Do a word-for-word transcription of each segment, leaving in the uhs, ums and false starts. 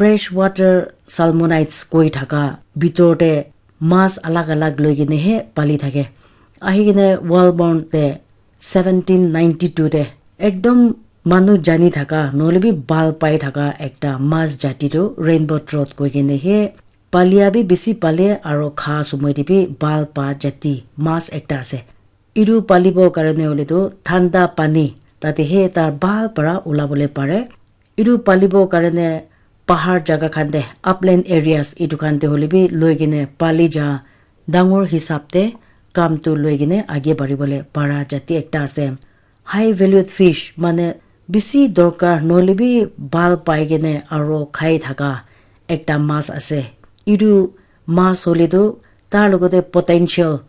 Freshwater salmonids koi thaka bitor te mas alag alag loi kene he pali thake. Ahi kene Walburn te seventeen ninety-two te ekdom manu jani thaka nohole bi bhal pai thaka ekta mas jati tu rainbow trout koi kene he palia bi bisi pale aro kha somoi te bi bhal pa jati mas ekta ase. Etu palibo karone hoile tu thanda pani tate he tar bhal para ulabole pare. Etu palibo karone pahar jaga khan te, upland areas etu khan te hoile bi loi kene pali ja dangor hisab te kam tu loi kene age bari bole para jati ekta ase. High valued fish mane bisi dorkar nohole bi bhal pai kene aro khai thaka ekta mas ase. Etu mas hoile tu tar logote potential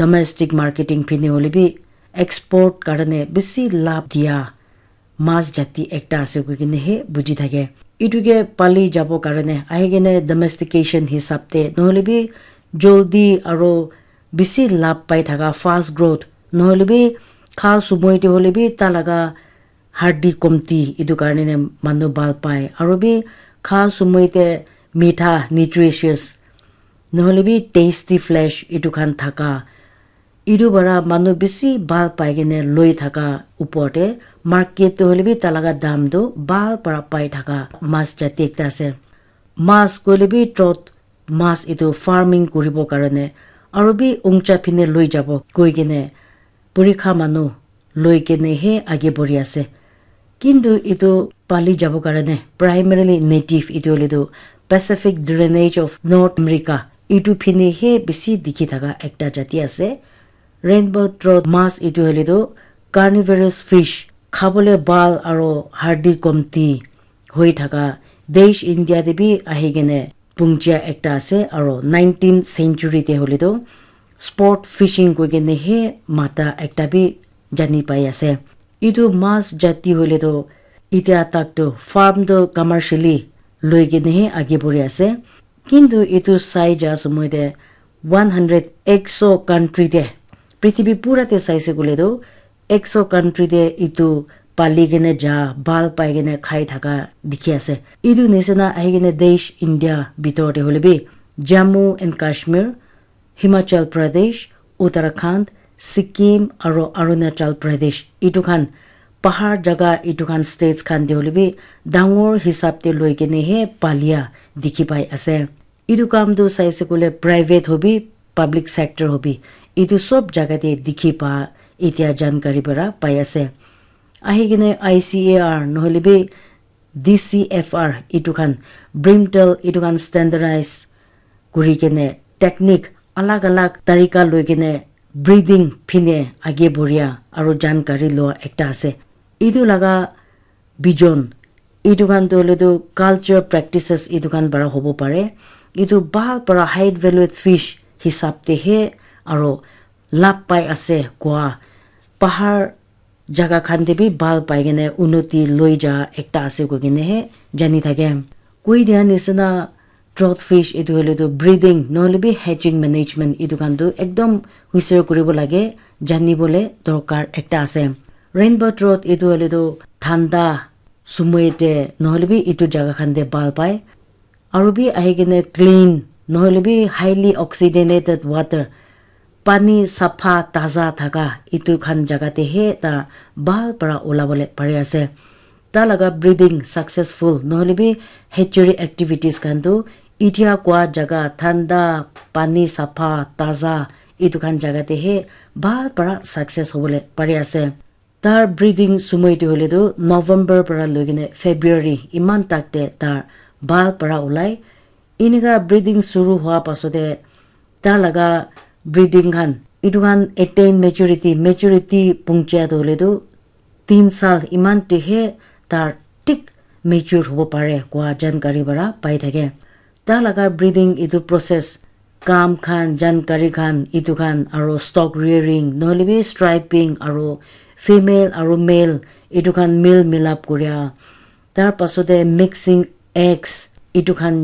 domestic marketing phine hoile bi export karone bisi labh dia mas jati ekta ase koi kene he buji thake. Etu ke pali jabo karone ahi kene domestication hisab te nohole bi joldi aro bisi labh pai thaka fast growth nohole bi kha somoi te hoile bi ta laga hardi komti etu karone manu bhal pai aro bi kha somoi te mitha nutritious nohole bi tasty flesh etu khan thaka etu para manu bisi bhal pai kene loi thaka upor te market te hoile bi ta laga dam tu bhal para pai thaka mas jati ekta ase. Mas koile bi trout mas etu farming kuribo karone aro bi ungcha phine loi jabo koi kene purikha manu loi kene he age bori ase. Kintu etu pali jabo karone primarily native etu hoile tu Pacific Drainage of North America etu phine he bisi dikhi thaka ekta jati ase. Rainbow trout mas etu hoile tu carnivorous fish khabole bhal aro hardi komti hoi thaka desh India te bi ahi kene pungchia ekta ase aro nineteenth century te hoile tu sport fishing koi kene he mata ekta bi jani pai ase. Etu mas jati hoile tu itia tak tu farm tu commercially loi kene he age bori ase. Kintu etu sai ja somoi te one hundred ekso country te prithibi pura te saise koile tu ekso country te etu pali kene ja bhal pai kene khai thaka dikhi ase. Etu nisina ahi kene desh India bitor te hoile bi Jammu and Kashmir, Himachal Pradesh, Uttarakhand, Sikkim aro Arunachal Pradesh etu khan pahar jaga etu khan states khan te hoile bi dangor hisab te loi kene he palia dikhi pai ase. Etu kam tu saise koile private hobi public sector hobi etu sob jaga te dikhi pa etia jankari para pai ase. Ahi kene I C A R nohole bi D C F R etu khan brimtal etu khan standardize kuri kene technique alag alag tarika loi kene breeding phine age boria aro jankari lua ekta ase. Etu laga vision etu khan tu hoile tu culture practices etu khan para hobo pare. Etu bhal para high valued fish hisab te he aro labh pai ase koa pahar jaga khan te bi bhal pai kene unoti loi ja ekta ase koi kene he jani thake. Koi dia nisina trout fish etu hoile tu breeding nohole bi hatching management etu khan tu ekdom huisir kuribo lage, jani bole dorkar ekta ase. Rainbow trout etu hoile tu thanda sumoi te nohole bi etu jaga khan te bhal pai. Aru bi ahi kene clean nohole bi highly oxygenated water pani sapha taza thaka etu khan jaga te he ta bhal para ulabole pari ase. Ta laga breeding successful nohole bi hatchery activities khan tu itia kwa jaga thanda pani sapha taza etu khan jaga te he bhal para success hobole pari ase. Tar breeding sumoi tu hoile tu November para loi kene February iman tak te tar bhal para ulai. Inika breeding suru hua pasate tar laga breeding khan etu khan attain maturity, maturity pungchia tu hoile tu tin sal iman te he tar thik mature hobo pare koa jankari para pai thake. Ta laga breeding etu process kam khan jankari khan etu khan aro stock rearing nohole bi striping aro female aro male etu khan male milap koria tar pasate mixing eggs etu khan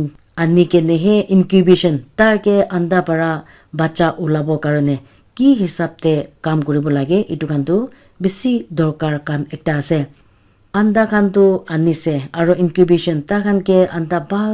ani kene he incubation tar ke anda para bacha ulabo karone ki hisab te kam kuribo lage etu khan tu bishi dorkar kam ekta ase. Anda khan tu anise aro incubation takhan ke anda bhal